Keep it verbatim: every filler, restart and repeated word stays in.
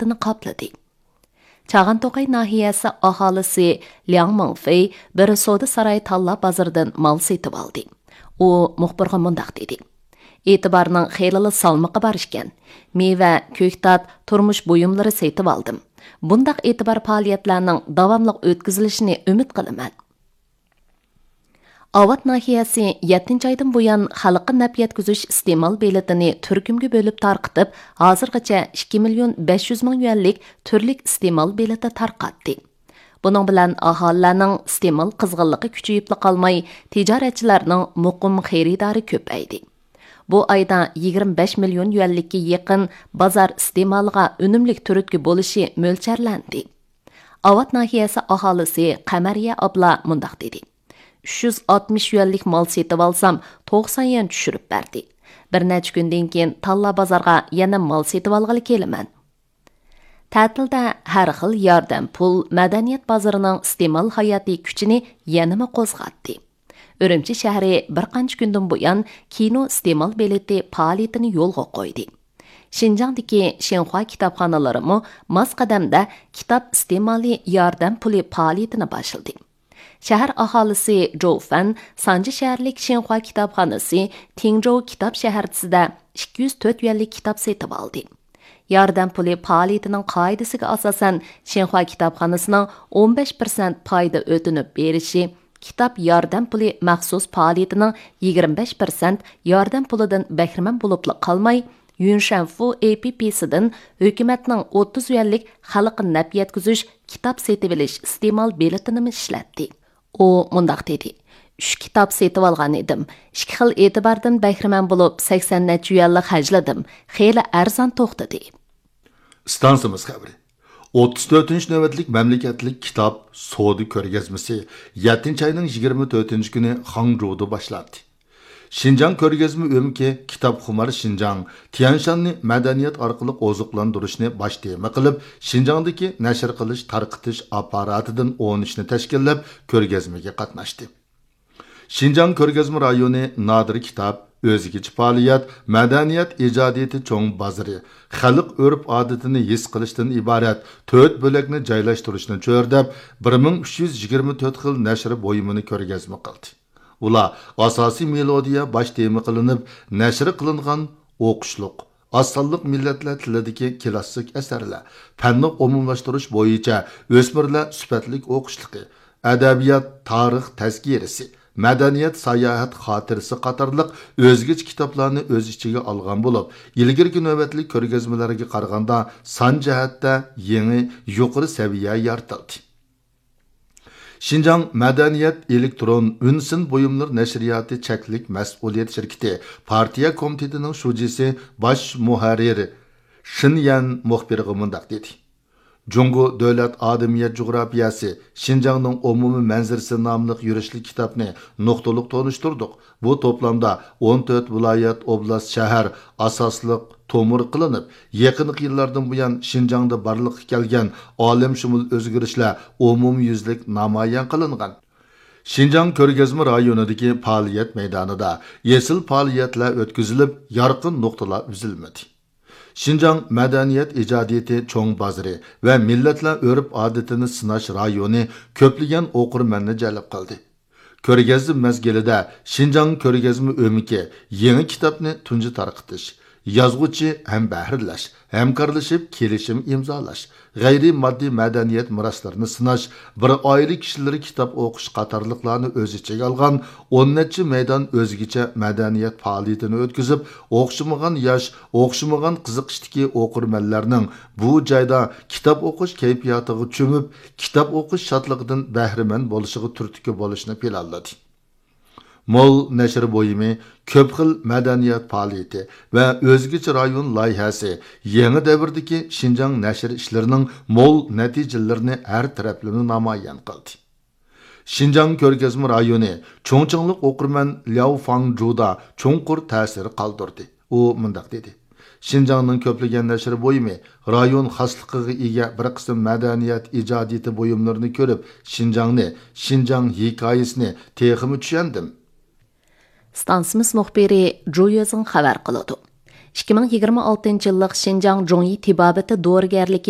سىرتىنى قاپلىدى. چاغانتوقاي ناھىيەسى ئاھالىسى لياڭ مىڭفېي بىر سودا ساراي تاللا بازىرىدىن مال سېتىۋالدى. ئۇ مۇخبىرغا مۇنداق دېدى: «ئېتىبارنىڭ خېلىلا سالمىقى بار ئىكەن. مېۋە، كۆكتات، تۇرمۇش بۇيۇملىرى سېتىۋالدىم. بۇنداق ئېتىبار پائالىيەتلەرنىڭ داۋاملىق ئۆتكۈزۈلۈشىنى ئۈمىد قىلىمەن.» ئاۋات ناھىيەسى يەتتىنچى ئايدىن بۇيان خەلققە نەپ يەتكۈزۈش ئىستېمال بېلىتىنى تۈركۈمگە بۆلۈپ تارقىتىپ، ھازىرغىچە ئىككى مىليون بەش يۈز مىڭ يۈەنلىك تۈرلۈك ئىستېمال بېلىتى تارقاتتى. بۇنىڭ بىلەن ئاھالىلەرنىڭ ئىستېمال قىزغىنلىقى كۈچىيىپلا قالماي، تىجارەتچىلەرنىڭ مۇقىم خېرىدارى كۆپەيدى. بۇ ئايدا يىگىرمە بەش مىليون يۈەنلىككە يېقىن بازار ئىستېمالىغا ئۈنۈملۈك تۈرتكە بولۇشى مۆلچەرلەندى. ئاۋات ناھىيەسى ئاھالىسى قەمەرىيە ئابلا مۇنداق دېدى: «ئۈچ يۈز ئاتمىش يۈەنلىك مال سېتىۋالسام، توقسان يۈەن چۈشۈرۈپ بەردى. بىر نەچچە كۈندىن كېيىن تاللا بازارغا يەنە مال سېتىۋالغىلى كېلىمەن.» تەتىلدە ھەر خىل ياردەم پۇل مەدەنىيەت بازىرىنىڭ ئىستېمال ھاياتىي كۈچىنى يەنىمۇ قوزغاتتى. ئۈرۈمچى شەھىرى بىر قانچە كۈندىن بۇيان كىنو ئىستېمال بېلىتى پائالىيىتىنى يولغا قويدى. شىنجاڭدىكى شىنخۇا كىتابخانىلىرىمۇ ماس قەدەمدە كىتاب ئىستېمالى ياردەم پۇلى پائالىيىتىنى باشلىدى. شەھەر ئاھالىسى جوۋ فەن سانجى شەھەرلىك شىنخۇا كىتابخانىسى تىڭجوۋ كىتاب شەھەرچىسىدە ئىككى يۈز تۆت يۈەنلىك كىتاب سېتىۋالدى. ياردەم پۇلى پائالىيىتىنىڭ قائىدىسىگە ئاساسەن، شىنخۇا كىتابخانىسىنىڭ ئون بەش پىرسەنت پايدا ئۆتۈنۈپ بېرىشى، كىتاب ياردەم پۇلى مەخسۇس پائالىيىتىنىڭ يىگىرمە بەش پىرسەنت ياردەم پۇلىدىن بەھرىمەن بولۇپلا قالماي، يۈنشەنفۇ ئېپپسىدىن ھۆكۈمەتنىڭ ئوتتۇز يۈەنلىك خەلققە نەپ يەتكۈزۈش كىتاب سېتىۋېلىش ئىستېمال بېلىتىنىمۇ ئىشلەتتى. ئۇ مۇنداق دېدى: «ئۈچ كىتاب سېتىۋالغان ئىدىم. ئىككى خىل ئېتىباردىن بەھرىمەن بولۇپ، سەكسەن نەچچە يۈەنلا خەجلىدىم. خېلى ئەرزان توختىدى.» ئىستانسىمىز خەۋىرى. ئوتتۇز تۆتىنچى نۆۋەتلىك مەملىكەتلىك كىتاب سودا كۆرگەزمىسى يەتتىنچى ئاينىڭ يىگىرمە تۆتىنچى كۈنى خاڭجۇدا باشلاندى. شىنجاڭ كۆرگەزمە ئۆمىكى كىتابخۇمار شىنجاڭ، تيەنشاننى مەدەنىيەت ئارقىلىق ئوزۇقلاندۇرۇشنى باش تېما قىلىپ، شىنجاڭدىكى نەشر قىلىش تارقىتىش ئاپپاراتىدىن ئون ئۈچنى تەشكىللەپ، كۆرگەزمىگە قاتناشتى. شىنجاڭ كۆرگەزمە رايونى نادىر كىتاب، ئۆزگىچە پائالىيەت، مەدەنىيەت ئىجادىيىتى چوڭ بازىرى، خەلق ئۆرپ-ئادىتىنى ھېس قىلىشتىن ئىبارەت تۆت بۆلەكنى جايلاشتۇرۇشنى چۆرىدەپ، بىر مىڭ ئۈچ يۈز يىگىرمە تۆت خىل نەشر بۇيۇمىنى كۆرگەزمە قىلدى. ئۇلار ئاساسىي مېلودىيە باش تېما قىلىنىپ، نەشر قىلىنغان ئوقۇشلۇق، ئاز سانلىق مىللەتلەر تىلىدىكى كىلاسسىك ئەسەرلەر، پەننى ئومۇملاشتۇرۇش بويىچە ئۆسمۈرلەر سۈپەتلىك ئوقۇشلۇقى، ئەدەبىيات، تارىخ تەزكىرىسى، مەدەنىيەت، ساياھەت خاتىرىسى قاتارلىق ئۆزگىچە كىتابلارنى ئۆز ئىچىگە ئالغان بولۇپ، ئىلگىرىكى نۆۋەتلىك كۆرگەزمىلەرگە قارىغاندا سان جەھەتتە يېڭى، يۇقىرى سەۋىيە يارىتىلدى. شىنجاڭ مەدەنىيەت ئېلېكترون ئۈنسىن بۇيۇملىرى نەشرىياتى چەكلىك مەسئۇلىيەت شىركىتى پارتىيە كومىتېتىنىڭ شۇجىسى، باش مۇھەررىر شېن يەن مۇخبىرغا مۇنداق دېدى: «جۇڭگو دۆلەت ئادەمىيەت جۇغراپىيەسى، شىنجاڭنىڭ ئومۇمىي مەنزىرىسى» ناملىق يۈرۈشلۈك كىتابنى نۇقتىلىق تونۇشتۇردۇق. بۇ توپلامدا ئون تۆت ۋىلايەت، ئوبلاست، شەھەر ئاساسلىق تومۇر قىلىنىپ، يېقىنقى يىللاردىن بۇيان شىنجاڭدا بارلىققا كەلگەن ئالەمشۇمۇل ئۆزگىرىشلەر ئومۇميۈزلۈك نامايان قىلىنغان. شىنجاڭ كۆرگەزمە رايونىدىكى پائالىيەت مەيدانىدا ئېسىل پائالىيەتلەر ئۆتكۈزۈلۈپ، يارقىن نۇقتىلار ئۈزۈلمىدى. شىنجاڭ مەدەنىيەت ئىجادىيىتى چوڭ بازىرى ۋە مىللەتلەر ئۆرپ-ئادىتىنى سىناش رايونى كۆپلىگەن ئوقۇرمەننى جەلپ قىلدى. كۆرگەزمە مەزگىلىدە شىنجاڭ كۆرگەزمە ئۆمىكى يېڭى كىتابنى تۇنجى تارقىتىش، يازغۇچى ھەمبەھىرلەش، ھەمكارلىشىپ كېلىشىم ئىمزالاش، غەيرىي ماددىي مەدەنىيەت مىراسلىرىنى سىناش، بىر ئائىلە كىشىلىرى كىتاب ئوقۇش قاتارلىقلارنى ئۆز ئىچىگە ئالغان ئون نەچچە مەيدان ئۆزگىچە مەدەنىيەت پائالىيىتىنى ئۆتكۈزۈپ، ئوخشىمىغان ياش، ئوخشىمىغان قىزىقىشتىكى ئوقۇرمەنلەرنىڭ بۇ جايدا كىتاب ئوقۇش كەيپىياتىغا چۆمۈپ، كىتاب ئوقۇش شادلىقىدىن بەھرىمەن بولۇشىغا تۈرتكە بولۇشنى پىلانلىدى. مول نەشر بۇيۇمى، كۆپ خىل مەدەنىيەت پائالىيىتى ۋە ئۆزگىچە رايون لايىھەسى يېڭى دەۋردىكى شىنجاڭ نەشر ئىشلىرىنىڭ مول نەتىجىلىرىنى ھەر تەرەپلىمە نامايان قىلدى. شىنجاڭ كۆرگەزمە رايونى چۇڭچىڭلىق ئوقۇرمەن لياۋ فاڭجۇدا چوڭقۇر تەسىر قالدۇردى. ئۇ مۇنداق دېدى: «شىنجاڭنىڭ كۆپلىگەن نەشر بۇيۇمى رايون خاسلىقىغا ئىگە بىر قىسىم مەدەنىيەت ئىجادىيىتى بۇيۇملىرىنى كۆرۈپ، شىنجاڭنى، شىنجاڭ ھېكايىسىنى تېخىمۇ چۈشەندىم.» ئىستانسىمىز مۇخبىرى جۇ يۆزىڭ خەۋەر قىلىدۇ. ئىككى مىڭ يىگىرمە ئالتىنچى يىللىق شىنجاڭ جۇڭيى تېبابىتى دورىگەرلىكى